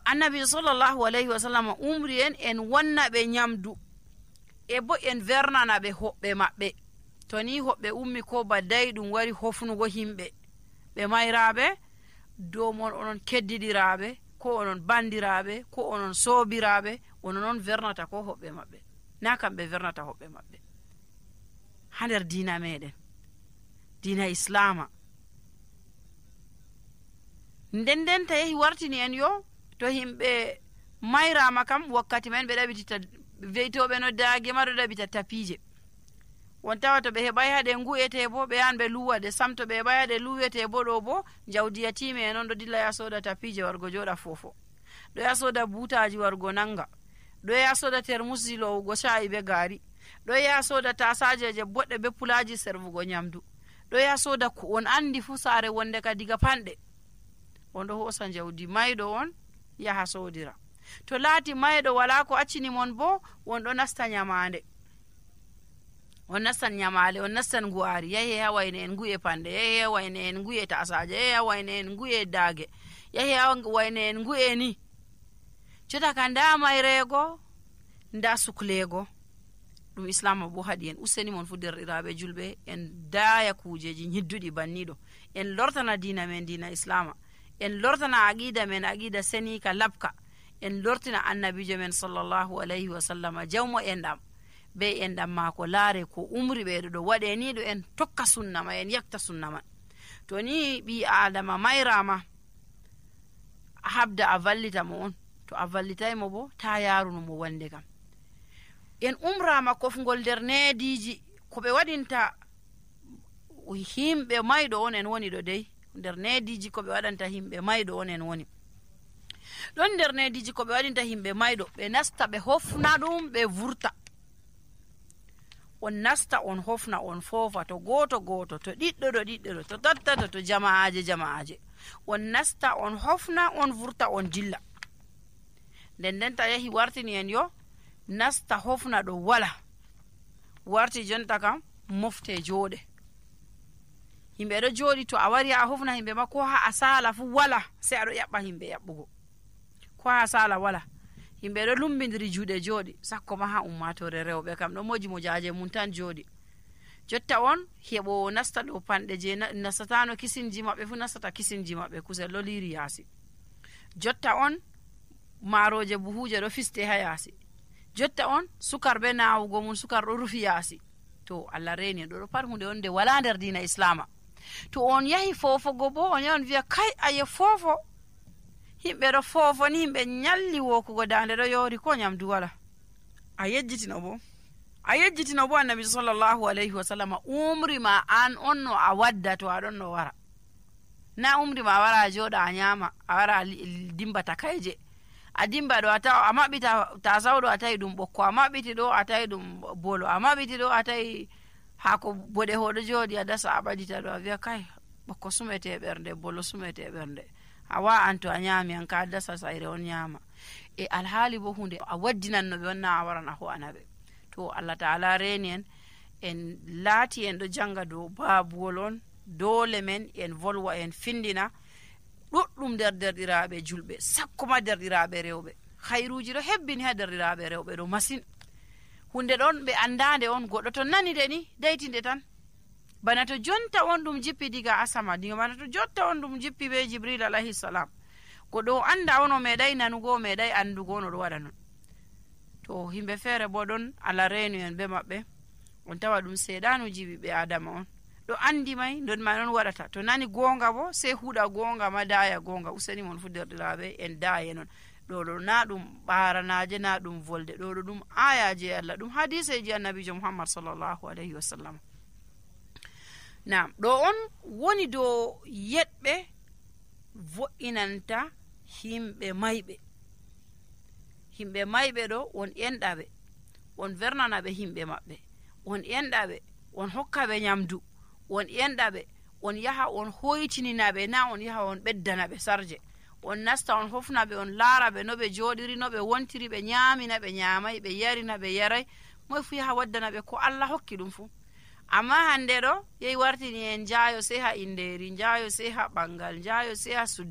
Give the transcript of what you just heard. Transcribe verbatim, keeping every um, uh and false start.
annabi sallallahu alayhi wa sallam umri en en wonna ɓe nyamdu e bo en vernana ɓe hoɓɓe maɓɓe. To ni hoɓɓe ummi ko badday ɗum wari hofnugo himɓe ɓe mayraɓe dow mon onon keddidiraɓe ko onon bandiraɓe ko onon soobiraɓe ono noon vernata ko hoɓɓe maɓɓe, na kamɓe vernata hoɓɓe maɓɓe. Ha nder diina meɗen, diina islama, nden nden ta yehi wartini en yo to himɓe mayrama kam wakkati men ɓe ɗaɓitita weytoɓe no daage ma ɗo ɗaɓita tapije. won tawa to ɓe heɓay haɗe nguyete bo ɓe yahan ɓe luwa ɗe sam, to ɓe heɓay haɗe luwete bo ɗo bo jawdi yatime e noon ɗo dilla ya soda tapije wargo joɗa fofo, ɗo ya soda butaji wargo nanga, ɗo ya soda termusi lowugo shayi be gaari, ɗo ya soda tasajeje boɗɗe be pulaji servugo nyamdu, ɗo ya soda ko on andi fu saare wonde ka diga panɗe, on ɗo hosa jawdi mayɗo on yaha sodira. To laati mayɗo wala ko accini mon bo on ɗo nasta nyamande, on nastan nyamale, on nastan nguwari, yahi ha wayne en nguye pande, yahi ha wayne en nguye tasaje, yahi ha wayne en nguye daage, yahi ha wayne en nguye ni. Jota ka nda mayrego nda suklego ɗum islama bo haɗi en. Useni mon fu derɗiraɓe julɓe en daya kujeji nyidduɗi banniɗo, en lortana dina men dina islama, en lortana aqida men aqida senika labka, en lortina annabijo men sallallahu alayhi wa sallama jawmo enɗam be enɗam mako laare ko umri ɓeɗo ɗo waɗe ni ɗo en tokka sunnama, en yakta sunna man. To ni ɓi adama mayrama a habda a vallita mo on, to a vallitaymo bo ta yarunomo wande kam. En umrama kofgol nder neediji ko ɓe waɗinta himɓe mayɗo on en woni ɗo dey, nder neediji ko ɓe waɗanta himɓe mayɗo on en woni ɗon. Nder neediji ko ɓe waɗinta himɓe mayɗo, ɓe nasta ɓe hofna ɗum ɓe vurta. On nasta on hofna on foofa, to goto goto, to ɗiɗɗo ɗo ɗiɗɗo ɗo, to tattato, to jama'aje jama'aje, on nasta on hofna on vurta on jilla. nden nden ta yahi wartini en yo nasta hofna ɗo wala, warti jonta kam mofte jooɗe. Himɓe ɗo jooɗi, to a wari a hofna himɓe ma ko ha a sala fu wala, sai aɗo yaɓɓa himɓe yaɓɓugo, ko ha a sala wala. Himɓe ɗo lumbidiri juuɗe jooɗi, sakko ma ha ummatore rewɓe kam ɗo moji mojaje mum tan jooɗi. Jotta on heɓo nasta ɗo panɗe je nastatano kisinji maɓɓe fu nastata kisinji maɓɓe, kusel ɗo liri yaasi. Jotta on maaroje buhuje ɗo fiste ha yaasi. Jotta on sukar be nawugo mum sukar ɗo rufi yaasi. To Allah reni ɗo ɗo pat hunde on nde wala nder dina islama. To on yahi fofogo bo on yahi on wiya kai aye fofo, himɓe ɗo fofo ni himɓe nyalli wokugo dande ɗo yori ko nyamdu wala, a yejjitino bo a yejjitino bo annabi sallallahu alayhi wa sallam umri ma an on no a wadda to aɗon no wara, na umri ma wara a joɗa a nyama, a wara a dimba takayje, a dimba ɗo a tawa a maɓɓita tasaw ɗo a tawi ɗum ɓokko, a maɓɓiti ɗo a tawi ɗum bolo, a maɓɓiti ɗo a tawi hako boɗe hoɗo jooɗi a dasa a ɓaɗita ɗo a wiya kai ɓokko sumete ɓernde, bolo sumete ɓernde, a wa an to a nyami an ka dasa sayre on nyama. E alhaali bo hunde a waddinanno ɓe onna a waran a ho'ana ɓe. To Allah ta'ala reni en en laati en ɗo janga dow babuwol on, dole men en volwa en findina ɗuɗɗum nder derɗiraɓe julɓe, sakko ma derɗiraɓe rewɓe. Khairuji ɗo hebbini ha derɗiraɓe rewɓe ɗo masin. Hunde ɗon ɓe andande on, goɗɗo to nani de ni daytinde tan. Bana to jonta on ɗum jippi diga asama, diga bana to jotta on ɗum jippi be Jibril alayhi salam, goɗɗo o anda on o meɗay nanugo, o meɗay andugo on o ɗo waɗa non. To himɓe feere bo ɗon Allah renu en be maɓɓe, on tawa ɗum seeɗanuji ɓiɓɓe adama on ɗo andi may ndon ma non waɗata. To nani gonga bo sei huɗa gonga ma daya gonga. Useni mon fu derɗiraɓe en daye non. ɗo ɗo na ɗum ɓaranaje, na ɗum volde, ɗo ɗo ɗum ayaji Allah, ɗum hadiseji annabijo Muhammad sallallahu alayhi wa sallam. Nam ɗo on woni dow yeɗɓe vo'inanta himɓe mayɓe. Himɓe mayɓe ɗo on enɗaɓe, on vernanaɓe himɓe maɓɓe, on enɗaɓe, on hokkaɓe nyamdu, on enɗaɓe, on yaha on hoytininaɓe, na on yaha on ɓeddanaɓe sarje. On nasta on hofnaɓe, on laaraɓe no ɓe joɗiri, no ɓe wontiri, ɓe nyamina, ɓe nyamay, ɓe yarina, ɓe yaray, moy fu yaha waddanaɓe ko Allah hokki ɗum fu. Amma hande ɗo yehi wartini en jayo sei ha inderi, jayo sei ha ɓangal, jayo sei ha suddi